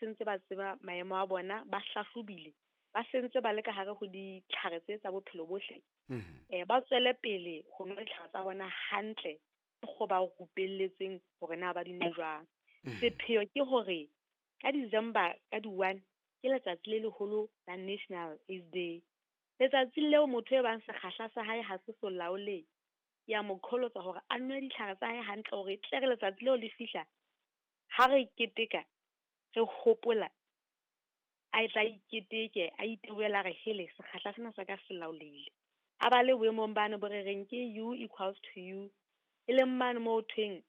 sentse ba tseba maemo a bona, ba hlahlobile, ba sentse ba le ka hare ho ditlhare tse tsa bophelo bohle. Ba tswele pele ho nwa ditlhare tsa bona hantle go ba rupelletsweng hore na ba di nwe jwang. Sepheo ke hore ka December ka di-1 ke letsatsi le leholo la National AIDS Day. Letsatsi leo motho e bang sekgahla sa hae ha se so laole, ke a mo qholotsa hore a nwe ditlhare tsa hae hantle hore tle re letsatsi leo le fihla, ha re keteka, re hopola, a tla iketeke, a itebohela re hele sekgahla sena sa ka se laolehile. A ba le boemong bane bo re reng ke U equals to U, e leng mane moo thweng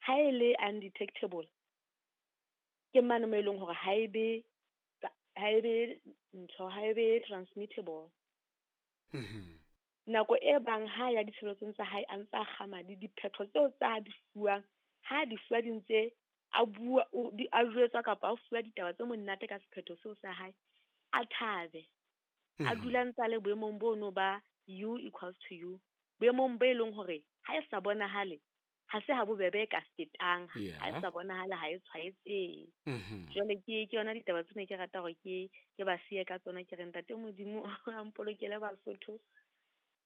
ha e le undetectable, ke mane mo e leng hore ha e be ntho, ha e be transmittable. Nako e bang ha ya ditshebeletsong tsa hae a ntse a kga madi, diphetho tseo tsa di fuwang, ha di fuwa di ntse a bua, a jwetswa kapa a fuwa ditaba tse monate ka sephetho seo sa hae, a thabe. A dula ntse a le boemong bono ba U equals to U, boemong bo e leng hore ha e sa bonahale, ha se ha bobebe e ka fetang, ha e sa bonahale ha e tshwaetsehe. Jwale ke yona ditaba tsena ke rata hore ke ba siye ka tsona, ke re ntate Modimo a mpolokele Basotho.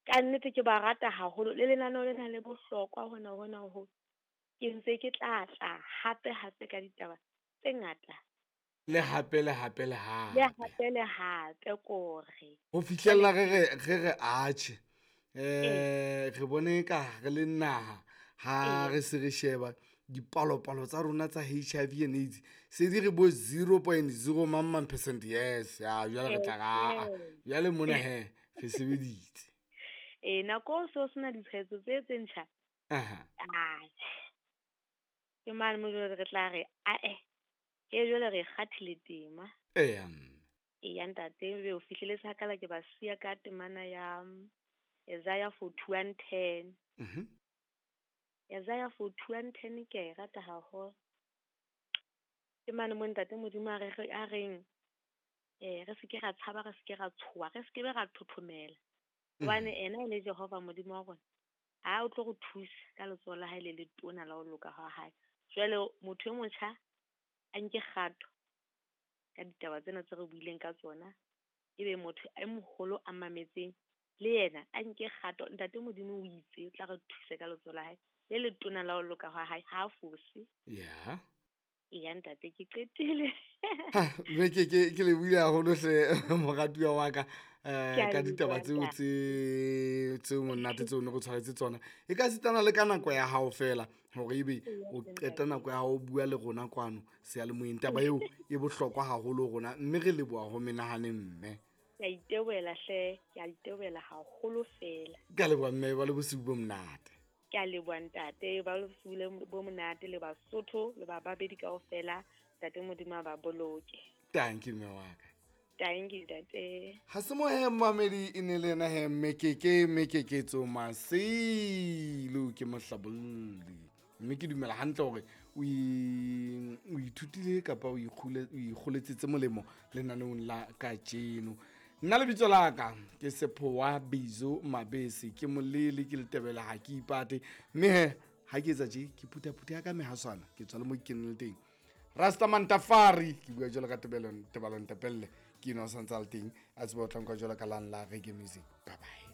Ka nnete ke ba rata haholo, le lenaneo lena le bohlokwa hona hona ho. Ke ntse ke tla tla hape hape ka ditaba tse ngata. Le hape le hape le hape. Le hape le hape kore. Ho fihlella re re atjhe. Re bone ka re le naha ha re se re sheba dipalopalo tsa rona tsa HIV and AIDS se di re bo 0.0 mang percent. Yes, ya jwale re tla ra jwale mona he re sebeditse. Nako so sena ditshwaetso tse ntjha. Ke mane mo jwale re tla re ae ke jwale re kgathile tema. Eya ntate, be o fihleletse hakala ke ba siya ka temana ya Isaiah 41:10. Isaiah 41:10 ke e rata haholo. Ke mane mo ntate Modimo a reng re se ke ra tshaba, re se ke ra tshoha, re se ke be ra thothomela. Hobane ena e le Jehova Modimo wa rona, ha o tlo re thusa ka letsoho la hae le letona la ho loka ha hae. Jwale motho e motjha a nke kgato ka ditaba tsena tse re buileng ka tsona, ebe motho e moholo a mametseng le yena a nke kgato. Ntate Modimo o itse o tla re thusa ka letsoho la hae le letona la ho loka ha hae, ha fose. Eya ntate, ke qetile. Mme ke le buile haholo hle moratuwa wa ka ka ditaba tseo tse monate tseo ne re tshwaretse tsona. E ka sitana le ka nako ya hao fela hore ebe o qeta nako ya hao o bua le rona kwano seyalemoyeng. Taba eo e bohlokwa haholo rona, mme re leboha ho menahane mme. Ke a itebohela hle, ke a itebohela haholo fela. Ke a leboha mme, ba le bosiu bo monate. Ke a leboha ntate, ba le bosiu bo monate le Basotho le ba babedi kaofela. Ntate Modimo a ba boloke. Thank you mme wa ka. Thank you ntate. Ha se mo he mamedi e ne le yena he Mmekeke Tso Masilo ke mohlabolli. Mme ke dumela hantle hore o ithutile kapa o ikgoletsetse molemo lenaneong la kajeno. Nna lebitso la ka ke Sephowa Bizo Mabese, ke molele, ke letebele, ha ke ipate. Mme he ha ke etsa tje ke phuthaphutha ya ka mehaswana, ke tswa le mo ke keneng le teng. Rastaman Tafari, ke bua jwalo ka Tebelo Ntepelle, ke eno a santse a le teng, a tseba ho tla nka jwalo ka lang la reggae music. Bye bye.